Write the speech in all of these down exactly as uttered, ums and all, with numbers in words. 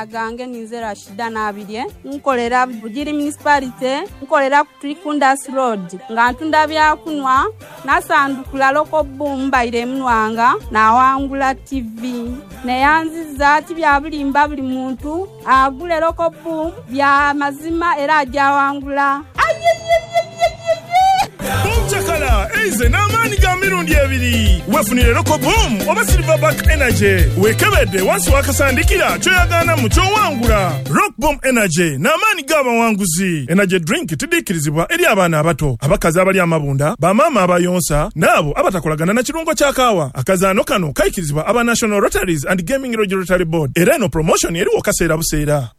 Amazina gange ninze Rashida Nabirye, nkolera Bugiri Municipality, nkolera ku Trikundas Road. Nga ntunda byakunywa, nasandukula Rock Boom mbaire munwanga, nawangula T V. Neyanziza ati bya bulimba buli muntu, agule Rock Boom bya mazima era ajawangula. Chakala, eize n'amaanyi ga mirundi ebiri. Weefunire Rock Boom oba Silverback Energy. Weekebedde wansi w'akasandikira ky'oyagaana mu ky'owangula. Rock Boom Energy n'amaanyi g'abawanguzi. Energy drink tiddiikirizibwa eri abaana abato, abakazi abali amabunda, bamaama abayonsa, n'abo abatakolagana na kirungo kya kaawa. Akazaano kano kayikirizibwa aba National Rotaries and Gaming Regulatory Board. Era eno promotion eriwo kaseera buseera.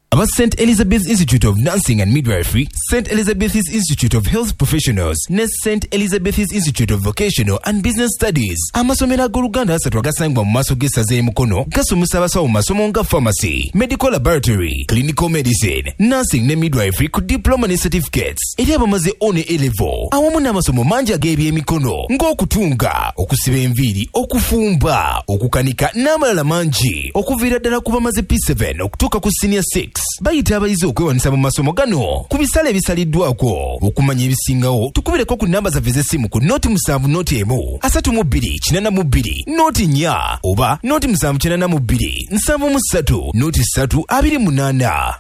Aba Saint Elizabeth's Institute of Nursing and Midwifery, Saint Elizabeth's Institute of Health Professionals, ne Saint Elizabeth's Institute of Vocational and Business Studies. Amasomero ag'Oluganda asatu agasangibwa mu maaso g'essaza e Mukono gasomesa abasawo mu masomo nga pharmacy, medical laboratory, clinical medicine, nursing ne midwifery ku diploma ne certificates. Eri abamaze O ne A level awamu n'amasomo mangi ag'ebyemikono ng'okutunga, okusiba enviiri, okufumba, okukanika n'amalala mangi, okuviira ddala ku bamaze P seven okutuuka ku senior six. Bayita abayizi okwewanisa mu masomo gano ku bisale ebisaliddwako. Okumanya ebisingawo tukubireko ku namba zaffe ez'essimu ku noti musanvu noti emu asatu mu bbiri kinaana mu bbiri noti nnya oba noti musanvu kinaana mu bbiri nsanvu mu ssatu noti ssatu abiri munaana.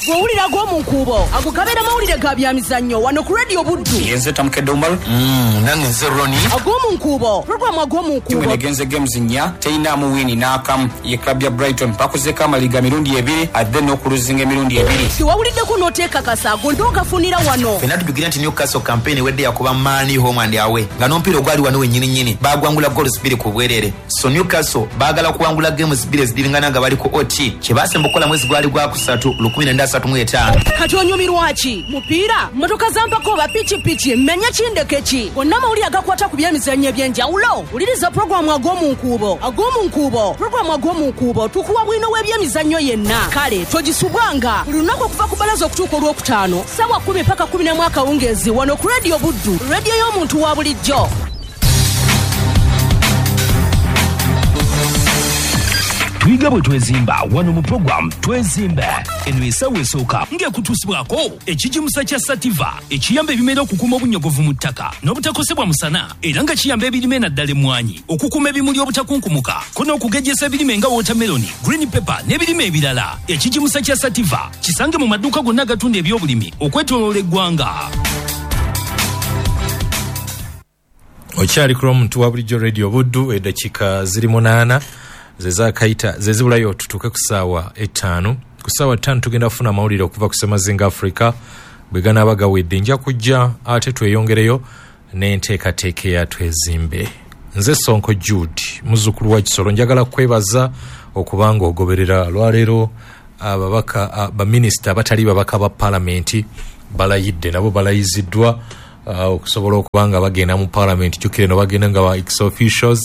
Gw'owulira gw'omu nkuubo ago gabeera mawulire ga byamizannyo wano ku Radio Buddu. Yenze Tamukedde Umar. Mm, nange nze Ronnie. Ag'omu nkuubo, pulogulaamu ag'omu nkuubo. Timu egenze games nnya, teyinaamu wini n'akamu. Ye club ya Brighton bakozeeko amaliga mirundi ebiri, ate n'okuluzinga emirundi ebiri. Tewawuliddeko n'oteekakasa ago nd'ogafunira wano. Ffenna tujjukira nti Newcastle campaign ewedde yakuba Man home and away, nga n'omupiira ogwali wano wennyini nnyini baagwangula goals bbiri ku bwereere. So Newcastle baagala kuwangula games bbiri ezidiringana nga bali ku O T. Kye baasemba okukola mwezi gwali gwa kusatu lukumi nenda asatu mu etaano. Kati onyumirwa ki? Mupiira, mmotoka za mpaka oba pikipiki, mmenya kindeke ki? Gonna amawulire agakwata ku byemizannyo eby'enjawulo. Wuliriza pulogulaamu ag'omu nkuubo. Ag'omu nkuubo, pulogulaamu ag'omu nkuubo tukuwa bwino w'ebyemizannyo yenna. Kale togisubwanga buli lunaku okuva ku bbalaza okutuuka olwokutaano ssaawa kkumi paka kkumi n'emu akawungeezi wano ku Radio Buddu, radio y'omuntu wa bulijjo. Tuyiga bwe twezimba wano mu program Twezimbe. Eno essaawa esooka ng'ekutuusibwako ekigimusa kya Sativa ekiyamba ebimera okukuuma obunyogovu mu ttaka n'obutakosebwa musana, era nga kiyamba ebirime naddala emmwanyi okukuuma ebimuli obutakunkumuka ko n'okugejjesa ebirime nga watermelon, green pepper n'ebirime ebirala. Ekigimusa kya Sativa kisange mu maduuka gonna agatunda ebyobulimi okwetooloola eggwanga. Okyali ku lw'omuntu wa bulijjo Radio Buddu, eddakiika ziri munaana zezakayita zezibulayo tutuuke ku ssaawa ettaano. Ku ssaawa ttaano tugenda kufuna amawulire okuva ku Ssemazinga Africa bwe ganaaba gawedde. Nja kujja ate tweyongereyo n'enteekateeka eya Twezimbe. Nze Sonko Jude, muzzukulu wa Kisolo, njagala kwebaza okubanga ogoberera lwaleero. Ababaka baminisita abatali babaka ba paalamenti balayidde, nabo balayiziddwa okusobola okuba nga bagenda mu paalamenti. Jjukire no bagenda nga ba ex officials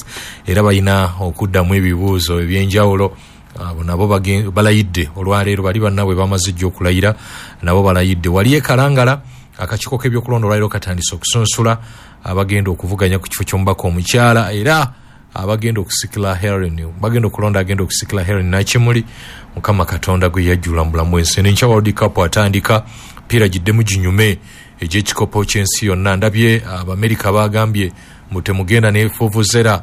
era balina okuddamu ebibuuzo ebyenjawulo. Abo nabo balayidde olwaleero, bali bannaabwe bamaze jjo okulayira, nabo balayidde. Wali e Kalangala akakiiko k'ebyokulonda olwaleero katandise okusunsula abagenda okuvuganya ku kifo ky'omubaka omukyala, era abagenda okusikira Helen, bagenda okulonda agenda okusikira Helen Nakimuli. Mukama Katonda gwe yajjula mu bulamu bw'ensi. N'enkya World Cup atandika, piira giddemu ginyume egy'ekikopo ky'ensi yonna. Ndabye Abamerika bagambye mbu temugenda ne vuvuzera.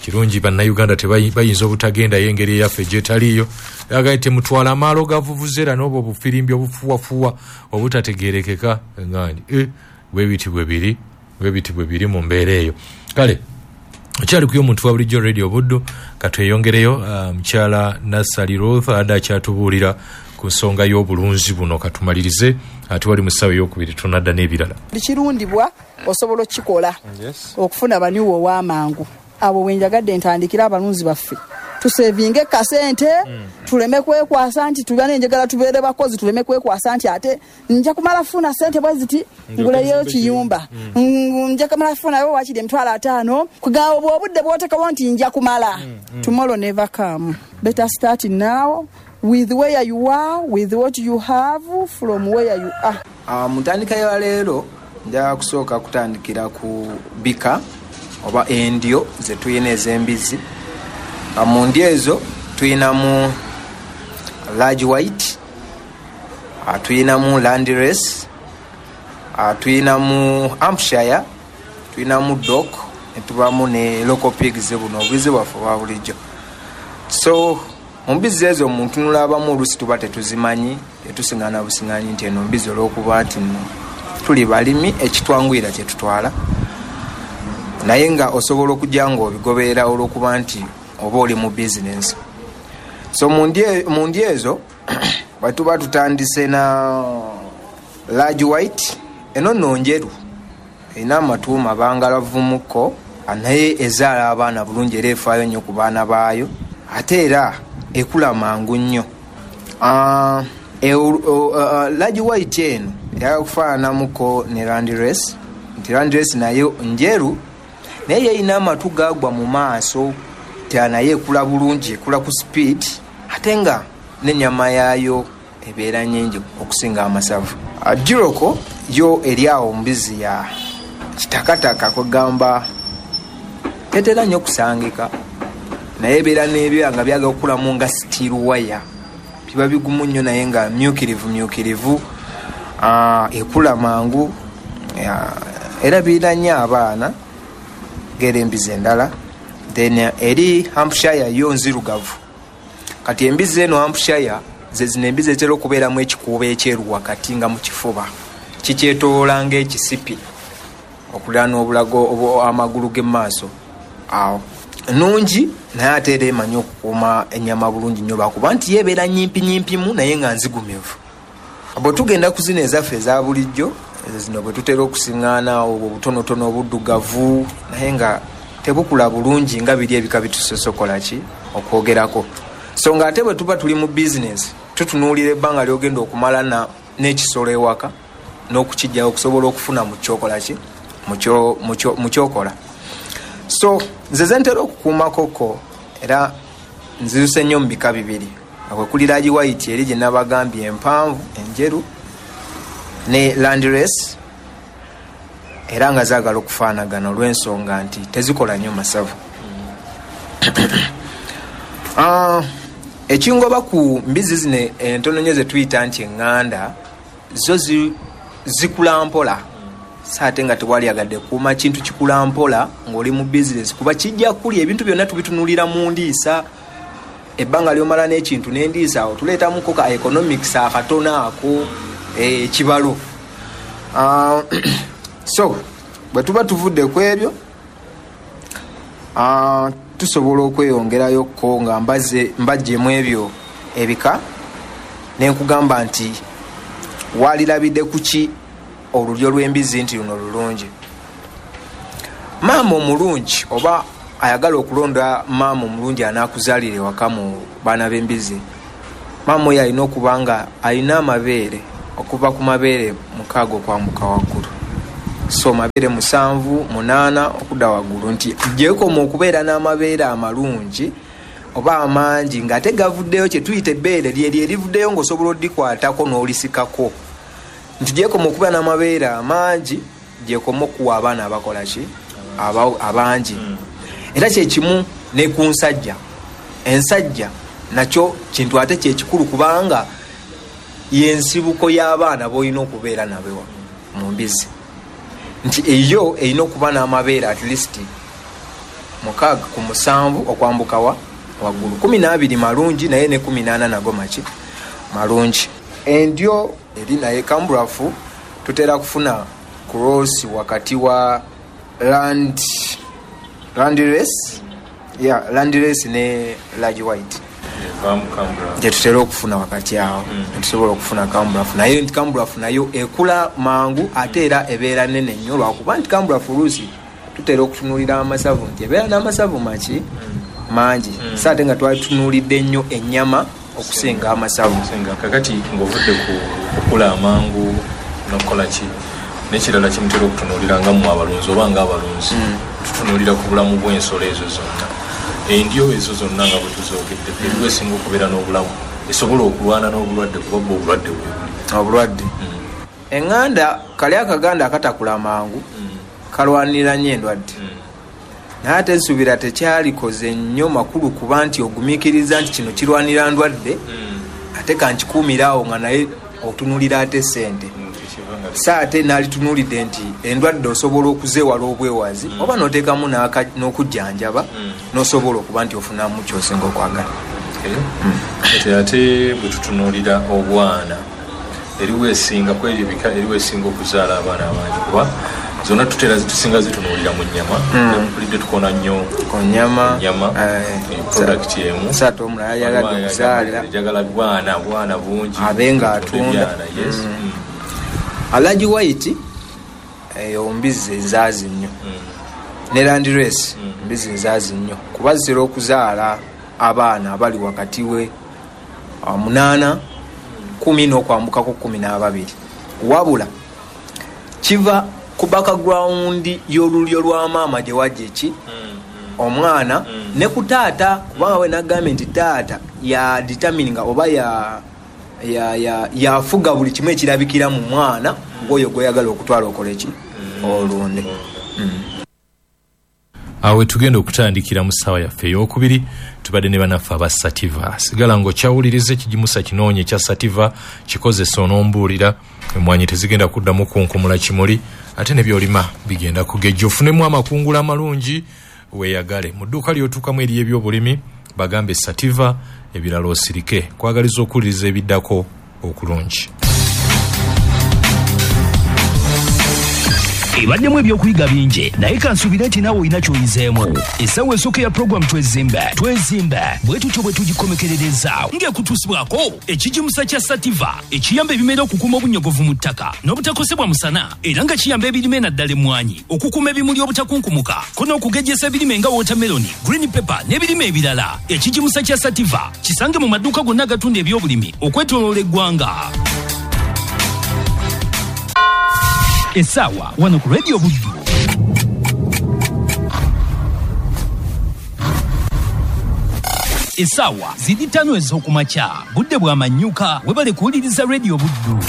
Kirungi bannayuganda bayinza obutagendayo engeri eyaffe gyetaliiyo. Agambye temutwala amaalo ga vuvuzera n'obwo obufirimbi obufuwafuwa obutategeerekeka. Ngandi eh, bwe biti bwe biri, bwe biti bwe biri mu mbeera eyo. Kale okyali ku y'omuntu wa bulijjo Radio Buddu, katweyongereyo. Mukyala Nassali Ruth adde akyatubuulira ku nsonga y'obulunzi buno. Katumalirize ate wali mu ssaawa ey'okubiri tunadda n'ebirala. Kirundibwa osobola okukikola okufuna baniwo ow'amangu. Abo wenjagadde ntandikira abalunzi baffe tusevinge kasente, tuleme kwekwasa nti tubane enjagala tubeere bakozi, tuleme kwekwasa nti ate nja kumala funa sente bwe ziti nguleyo kiyumba, nja kumala funayo wakiri emitwalo ataano. Kugaba obudde bw'oteekawo nti nja kumala, tomorrow never come. Better start now with where you are, with what you have, from where you are. Uh, mu ntandika ya leero njagala kusooka kutandikira ku bika oba endyo ze tuyina ez'embizzi. Mu ndyo ezo Tuyinamu large white, uh, tuyinamu land race, uh, tuyinamu Hampshire, tuyinamu dog, netubamu ne local pigs buno obubizi bwaffe obwa bulijjo. So mu mbizi ezo omuntu nulabamu oluusi tuba tetuzimanyi, tetusiŋŋaana busiŋŋanyi nti eno mbizi olw'okuba nti nno tuli balimi ekitwanguyira kye tutwala, naye nga osobola okujja ng'obigoberera olw'okuba nti oba oli mu bizinensi. So mu ndyo ezo bwe tuba tutandise na large white, eno nno njeru, erina amatu mabangalavumuko, naye ezaala abaana bulungi era efaayo nnyo ku baana baayo, ate era ekula mangu nnyo. Uh, e, uh, large white eno eyagala kufaananamuko ne land race, nti land race nayo njeru naye yeyina amatu gagwa mu maaso, naye ekula bulungi, ekula ku speed, ate nga n'ennyama yaayo ebeera nnyingi okusinga amasavu. Uh, Duroko yo eri awo mbizi ya kitakataka, kwegamba tetera nnyo okusangika, naye ebeera n'ebyoya nga byagala okukulamu nga steel wire, biba bigumu nnyo naye nga myukirivu myukirivu, uh, ekula mangu, era birina nnyo abaana ng'era embizi endala. Then eri Hampshire yo nzirugavu. Kati embizi eno Hampshire ze zino embizi ezitera okubeeramu ekikuubo ekyeru wakati nga mu kifuba, kikyetoloola ng'ekisipi okuliraana obulago amagulu g'emmaaso awo. Nnungi naye ate era emanyi okukuuma ennyama bulungi nnyo lwakuba nti ye ebeera nnyimpinyimpimu naye nga nzigumivu. Bwe tugenda ku zino ezaffe eza bulijjo, ezo zino bwe tutera okusiŋŋaana obwo obutonotono obuddugavu naye nga tebukula bulungi nga biri ebika bitusosokola ki okwogerako. So ng'ate bwe tuba tuli mu bizinensi tutunuulira ebbanga ly'ogenda okumala n'ekisolo ewaka n'okukijjawo okusobola okufuna mu kyokola ki mu kyokola. So nze ze ntera okukuumakoko era nziruse nnyo mu bika bibiri, kwe kuli large white eri gye nabagambye empanvu enjeru ne land race, era nga zaagala okufaanagana olw'ensonga nti tezikola nnyo masavu. Uh, ekingoba ku mbizi zino entono nnyo ze tuyita nti eŋŋanda, zo zikula mpola, so ate nga tewaliyagadde kuuma kintu kikula mpola ng'oli mu bizinesi, kuba kijja kulya ebintu byonna tubitunuulira mu ndiisa. Ebbanga ly'omala n'ekintu n'endiisa awo tuleetamuko ka economics akatono ako ekibalo. Uh, so bwe tuba tuvudde ku ebyo, uh, tusobola okweyongerayokko nga mbaze mbaggyemu ebyo ebika, ne nkugamba nti walirabidde ku ki olulyo lw'embizi nti luno lulungi. Maama omulungi oba ayagala okulonda maama omulungi anaakuzaalira ewaka mu baana b'embizi, maama oyo alina okuba nga alina amabeere okuva ku mabeere mukaaga okwambuka waggulu, so mabeere musanvu munaana okudda waggulu, nti gyekoma okubeera n'amabeere amalungi oba amangi ng'ate gavuddeyo, kye tuyita ebbeere lyeryo erivuddeyo ng'osobola oddikwatako n'olisikako, nti gyekoma okubeera n'amabeere amangi gyekoma okuwa abaana abakola ki abangi. Era kyekimu ne ku nsajja, ensajja nakyo kintu ate kyekikulu kubanga y'ensibuko y'abaana b'olina okubeera nabo mu mbizi, nti eyo erina okuba n'amabeere at least mukaaga ku musanvu okwambuka wa waggulu, kumi n'abiri malungi naye ne kumi n'ana nago maki malungi. Endyo eri naye kambulafu tutera kufuna cross wakati wa land land race, yeah, land race ne large white gye tutera okufuna wakati awo, netusobola okufuna kambulafu, naye nti kambulafu nayo ekula mangu ate era ebeera nene nnyo lwakuba nti kambulafu oluusi tutera okutunuulira amasavu nti ebeera n'amasavu maki mangi, so ate nga twali tutunuulidde nnyo ennyama okusinga amasavu. Kakati ng'ovudde ku kukula amangu n'okukola ki n'ekirala kimutera okutunuulira nga mmwe abalunzi oba nga abalunzi, tutunuulira ku bulamu bw'ensolo ezo zonna, endyo ezo zonna nga bwe tuzoogedde, eriwo esinga okubeera n'obulamu esobola okulwana n'obulwadde, kuba bwo obulwadde bwe buli obulwadde. Eŋŋanda kali akaganda akatakula mangu kalwanirira nnyo endwadde, Naye ate nsuubira tekyalikoze nnyo makulu kuba nti ogumiikiriza nti kino kirwanira ndwadde, ate kankikuumira awo nga naye otunulira ate sente. Sa ate nalitunuulidde nti endwadde osobola okuzeewala obwewazi, oba n'oteekamu n'okujjanjaba, n'osobola okuba nti ofunamu ky'osinga okwagala. Ate ate bwe tutunuulira obwana, eriwo esinga ku ebyo ebika, eriwo esinga okuzaala abaana abangi, kuba zonna tutera tusinga zitunuulira mu nnyama. Mpulidde tukona nnyo ku nnyama, nnyama product emu. Sa ate omulala yayagadde okuzaala, njagala bwana bwana bungi, abe nga atunda. Alhaji White eyo mbizzi enzaazi nnyo, ne Land Race mbizzi nzaazi nnyo, kuba zitera okuzaala abaana abali wakati we munaana kumi n'okwambukako kumi n'ababiri. Wabula kiva ku background y'olulyo lwa maama gye wajja eki omwana ne ku taata, kubanga we nagambye nti taata ya determininga oba ya ya ya yafuga buli kimu ekirabikira mu mwana ng'oyo gw'oyagala okutwala okola eki olunde. Awe tugenda okutandikira mu ssaawa yaffe ey'okubiri, tubadde ne bannaffe aba Sativa. Sigala ng'okyawuliriza ekigimusa kinoonye ekya Sativa, kikozesa onombuulira, emmwanyi tezigenda kuddamu kunkumula kimuli, ate ne by'olima bigenda kugejja, ofunemu amakungula amalungi weeyagale. Mu dduuka ly'otuukamu eriyo ebyobulimi, bagambe Sativa, ebirala osirike. Kwagaliza okuwuliriza ebiddako okulungi. Ebaddemu ebyokuyiga bingi, naye kansuubire nti naawe olina ky'oyizeemu. Essaawa esooka ya puroguramu Twezimbe Twezimbe bwe tutyo bwe tugikomekerereza ng'ekutuusibwako ekigimusa kya Sativa ekiyamba ebimera okukuuma obunyogovu mu ttaka n'obutakosebwa musana, era nga kiyamba ebirime naddala emmwanyi okukuuma ebimuli obutakunkumuka ko n'okugejjesa ebirime nga watermelon, green pepper n'ebirime ebirala. Ekigimusa kya Sativa kisange mu maduuka gonna agatunda ebyobulimi okwetooloola eggwanga. Essaawa wano ku Radio Buddu. Essaawa ziri ttaano ez'okumakya, budde bwa manyuka, webale kuwuliriza Radio Buddu.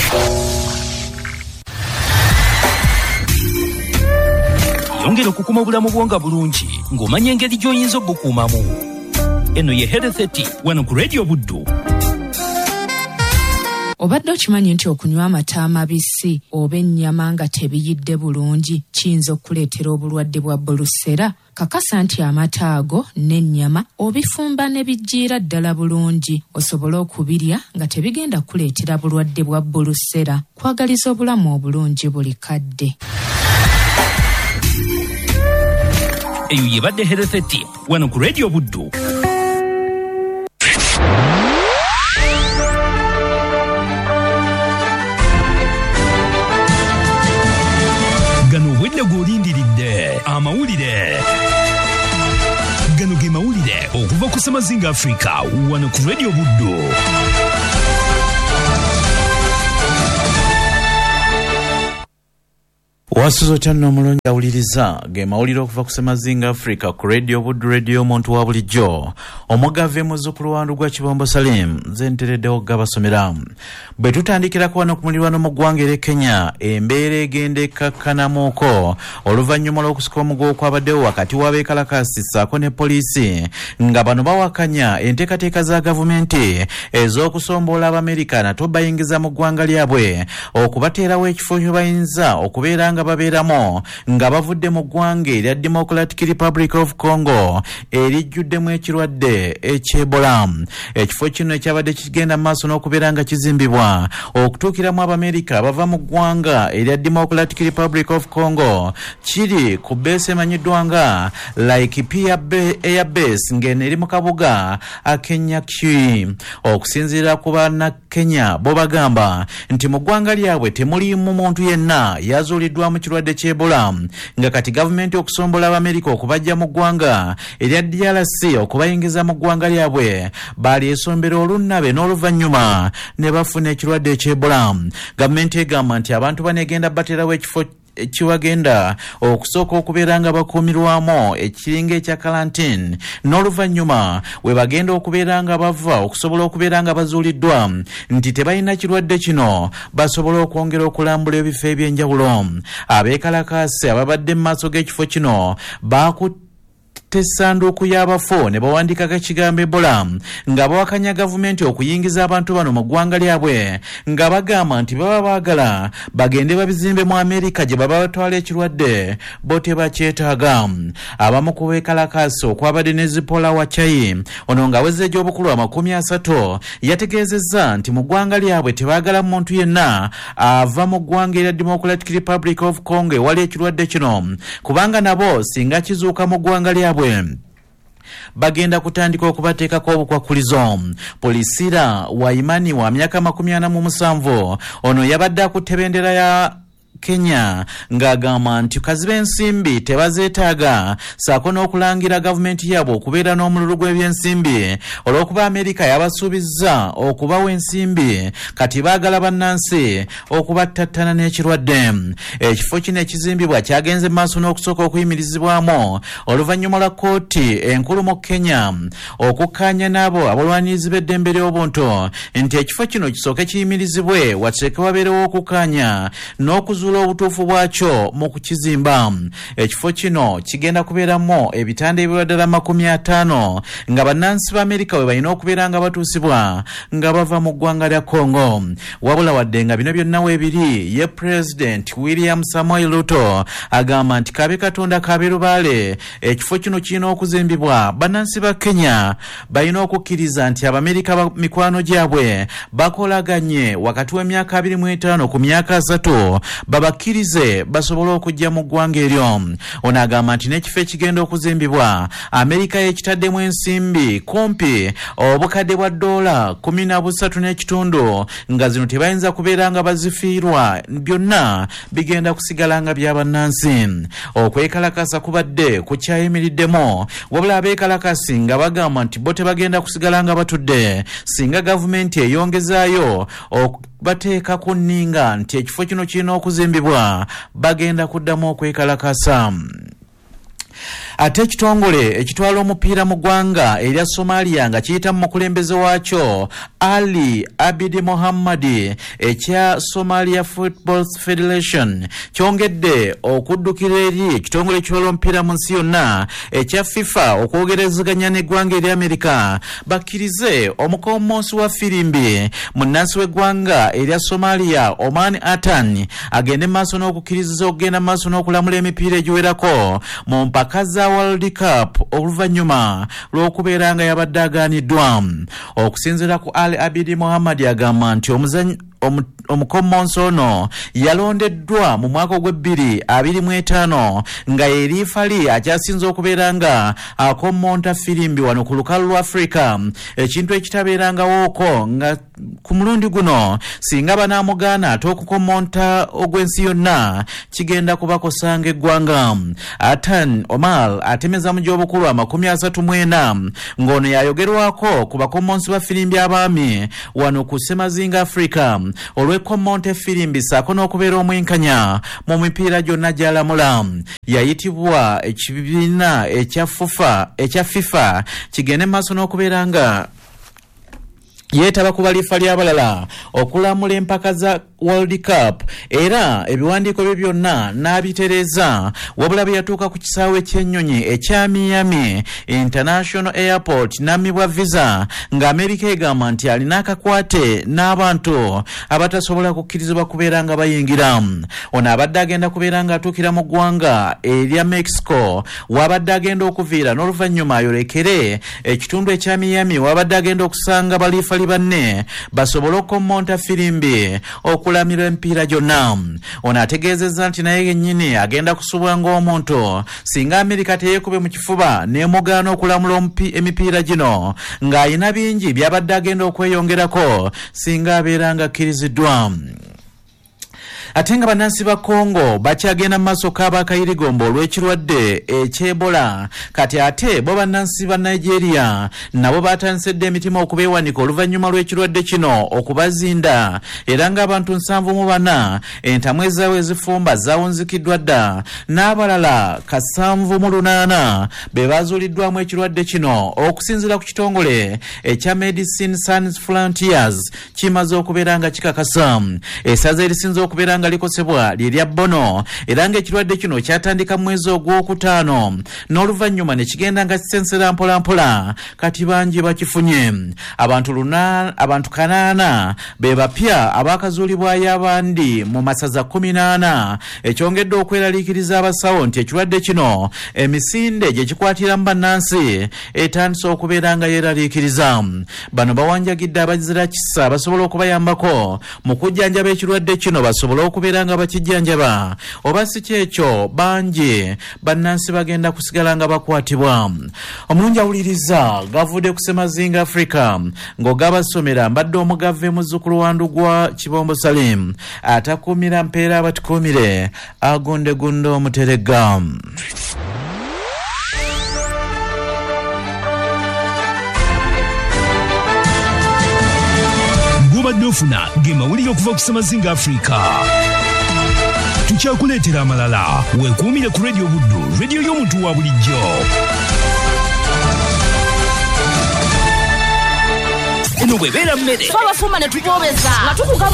Yongera okukuuma obulamu bwo nga bulungi ng'omanya engeri gy'oyinza obukuumamu. Eno ye Health Tip wano ku Radio Buddu. Obadde okimanyi nti okunywa amata amabisi oba ennyama nga tebiyidde bulungi kiyinza okukuleetera obulwadde bwa bulusera? Kakasa nti amata ago n'ennyama obifumba ne bijjiira ddala bulungi osobole okubirya nga tebigenda kukuleetera bulwadde bwa bulusera. Kwagaliza obulamu obulungi buli kadde. Eyo yebadde Health Tip wano ku Radio Buddu. Gano obwedde gw'olindiridde amawulire. Gano ge mawulire okuva ku Ssemazinga Africa wano ku Radio Buddu. Wasuzo otya nno omulungi awuliriza ge mawulire okuva ku Ssemazinga Africa ku Radio Buddu, Radio omuntu wa bulijjo. Omugave muzzukulu wa Ndugwa Kibombo Salim nze ntereddewo gabasomera. Bwe tutandikirako wano ku mulirwano mu ggwanga er'e Kenya, embeera egenda ekkakkanamuko oluvannyuma lw'okusika omuguwa okwabaddewo wakati w'abeekalakaasi ssaako ne poliisi, nga bano bawakanya enteekateeka za gavumenti ez'okusomboola Abamerika nate bayingiza mu ggwanga lyabwe okubateerawo ekifo kye bayinza okubeera nga babeeramu nga bavudde mu ggwanga erya Democratic Republic of Congo erijjuddemu ekirwadde eky'Ebola. Ekifo kino ekyabadde kigenda mu maaso n'okubeera nga kizimbibwa okutuukiramu Abamerika abava mu ggwanga erya Democratic Republic of Congo kiri ku bbeesi emanyiddwa nga Laikipia Air Base ng'eno eri mu kabuga ak'Enyakyi. Okusinziira ku bannakenya bo bagamba nti mu ggwanga lyabwe temuliimu muntu yenna yazuuliddwa mu kirwadde ky'Ebola, nga kati gavumenti okusombola Abamerika okubajja mu ggwanga erya D R C okubayingiza mu ggwanga lyabwe balyesombera olunnabe n'oluvannyuma ne bafuna ekirwadde eky'Ebola. Gavumenti egamba nti abantu banegenda bateerawo ekifo kiwagenda okusooka okubeera nga bakuumirwamu ekiringa ekya karantini n'oluvannyuma we bagenda okubeera nga bava okusobola okubeera nga bazuuliddwa nti tebalina kirwadde kino basobola okwongera okulambula ebifo eby'enjawulo. Abeekalakaasi ababadde mu maaso g'ekifo kino baakutte Essanduuku y'abafu ne bawandiikako ekigambo Ebola nga bawakanya gavumenti okuyingiza abantu bano mu ggwanga lyabwe, nga bagamba nti baba baagala bagende babizimbe mu Amerika gye baba batwala ekirwadde bo tebakyetaaga. Abamu ku beekalakaasi okwabadde ne Zipola Wachayi, ono ng'aweza egy'obukulu amakumi asatu, yategeezezza nti mu ggwanga lyabwe tebaagala muntu yenna ava mu ggwanga erya Democratic Republic of Congo ewali ekirwadde kino, kubanga nabo singa kizuuka mu ggwanga lyabwe bagenda kutandika okubateekako obukwakulizo. Polisira Waimani wa myaka makumi ana mu musanvu, ono yabadde akutte bendera ya Kenya ng'agamba nti kaziba ensimbi tebazeetaaga, ssaako n'okulangira gavumenti yaabwe okubeera n'omululu gw'ebyensimbi olw'okuba Amerika yabasuubizza okubawa ensimbi, kati baagala bannansi okubattattana n'ekirwadde. Ekifo kino ekizimbibwa kyagenze maaso n'okusooka okuyimirizibwamu oluvannyuma lwa kkooti enkulu mu Kenya okukkaanya n'abo abalwanirizi b'eddembe ly'obuntu nti ekifo kino kisooke kiyimirizibwe wateeke wabeerewo okukkaanya n'okuzuula obutuufu bwakyo mu kukizimba. Ekifo kino kigenda kubeeramu ebitanda ebirwa ddala makumi ataano nga bannansi ba Amerika we balina okubeera nga batuusibwa nga bava mu ggwanga lya Congo. Wabula wadde nga bino byonna weebiri, ye President William Samoei Ruto agamba nti kabe Katonda kabe lubaale, ekifo kino kirina okuzimbibwa. Bannansi ba Kenya balina okukkiriza nti Abamerika mikwano gyabwe bakolaganye wakati w'emyaka abiri mu etaano ku myaka asatu babakkirize basobole okujja mu ggwanga eryo. Ono agamba nti n'ekifo ekigenda okuzimbibwa Amerika yekitaddemu ensimbi kumpi obukadde bwa ddoola kumi na busatu n'ekitundu, nga zino tebayinza kubeera nga bazifiirwa, byonna bigenda kusigala nga bya bannansi. Okwekalakasa kubadde kukyayimiriddemu, wabula abeekalakasi nga bagamba nti bo tebagenda kusigala nga batudde singa gavumenti eyongezaayo bateeka ku nninga nti ekifo kino kirina okuzimbibwa, bagenda kuddamu okwekalakasa. Ate ekitongole ekitwala omupiira mu ggwanga erya Somalia nga kiyita mu mukulembeze waakyo Ali Abidi Mohammadi ekya Somalia Football Federation kyongedde okuddukira eri ekitongole ekitwala omupiira mu nsi yonna ekya FIFA okwogerezeganya n'eggwanga erya Amerika bakkirize omukommonsi wa firimbi munnansi w'eggwanga erya Somalia Oman Atan agende maaso n'okukkiriza okugenda maaso n'okulamula emipiira egiwerako mu mpaka za World Cup oluvannyuma lw'okubeera nga yabadde agaaniddwa. Okusinziira ku Ali Abidi Mohammad agamba nti omuzannyi omukommonsi ono yalondeddwa mu mwaka ogw'ebbiri abiri mu etaano nga ye liifali akyasinze okubeera nga akommonta firimbi wano ku lukalu lwa Afrika, ekintu ekitabeerangawooko nga ku mulundi guno singa banaamugaana ate okukommonta ogw'ensi yonna kigenda kubakosanga eggwanga. Atan Omar atemeza mu gy'obukulu amakumi asatu mu ena ng'ono yayogerwako ku bakommonsi ba firimbi abaami wano ku Ssemazinga Afrika olw'ekkommonta efirimbi ssaako n'okubeera omwenkanya mu mipiira gyonna gy'alamula. Yayitibwa ekibiina ekya FUFA ekya FIFA kigende maaso n'okubeera nga yeetaba ku balifa ly'abalala okulamula empaka za World Cup, era ebiwandiiko bye byonna n'abitereeza. Wabula bwe yatuuka ku kisaawe ky'ennyonyi ekya Miami International Airport n'ammibwa visa nga Amerika egamba nti alina akakwate n'abantu abatasobola kukkirizibwa kubeera nga bayingira. Ono abadde agenda kubeera ng'atuukira mu ggwanga erya Mexico wabadde agenda okuviira n'oluvannyuma ayolekere ekitundu ekya Miami wabadde agenda okusanga baliifali banne basobole okukommonta firimbi okulamira emipiira gyonna. Ono ategeezezza nti naye yennyini agenda kusubwa ng'omuntu singa Amerika teyeekube mu kifuba n'emugaana okulamula emipiira gino ng'ayina bingi by'abadde agenda okweyongerako singa abeera ng'akkiriziddwa. Ate nga bannansi ba Congo bakyagenda mu maaso k'abakayirigombo olw'ekirwadde eky'Ebola, kati ate bo bannansi ba Nigeria nabo batandise dda emitima okubeewanika oluvannyuma lw'ekirwadde kino okubazinda, era ng'abantu nsanvu mu bana entamu ezaabwe ezifumba zaawunzikiddwa dda n'abalala kasanvu mu lunaana be bazuuliddwamu ekirwadde kino. Okusinziira ku kitongole ekya Medecins Sans Frontiers kimaze okubeera nga kikakasa. Essaza erisinze okubeera okubeera nga likosebwa lye lya Bono, era ng'ekirwadde kino kyatandika mu mwezi ogwokutaano n'oluvannyuma ne kigenda nga kisensera mpolampola, kati bangi bakifunye. Abantu luna, abantu kanaana be bapya abakazuulibwayo abandi mu masaza kkumi n'ana, ekyongedde okweraliikiriza abasawo nti ekirwadde kino emisinde gye kikwatiramu bannansi etandise okubeera nga yeeraliikiriza. Bano bawanjagidde abazira kisa basobola okubayambako mu kujjanjaba ekirwadde kino basobole okubeera nga bakijjanjaba, oba si kyekyo bangi bannansi bagenda kusigala nga bakwatibwa. Omulungi awuliriza gavudde ku Ssemazinga Africa ng'ogabasomera mbadde omugave muzzukulu wa Ndugwa Kibombo Salim atakuumira mpeera abatukuumire agundegunde omuteregga. Gobadde ofuna ge mawulire okuva ku Ssemazinga Africa. Tukyakuleetera amalala. Weekuumire ku Radio Buddu, radio y'omuntu wa bulijjo. Eno bw'ebeera mmere Twabafumba ne tuboobeza nga tukugabula.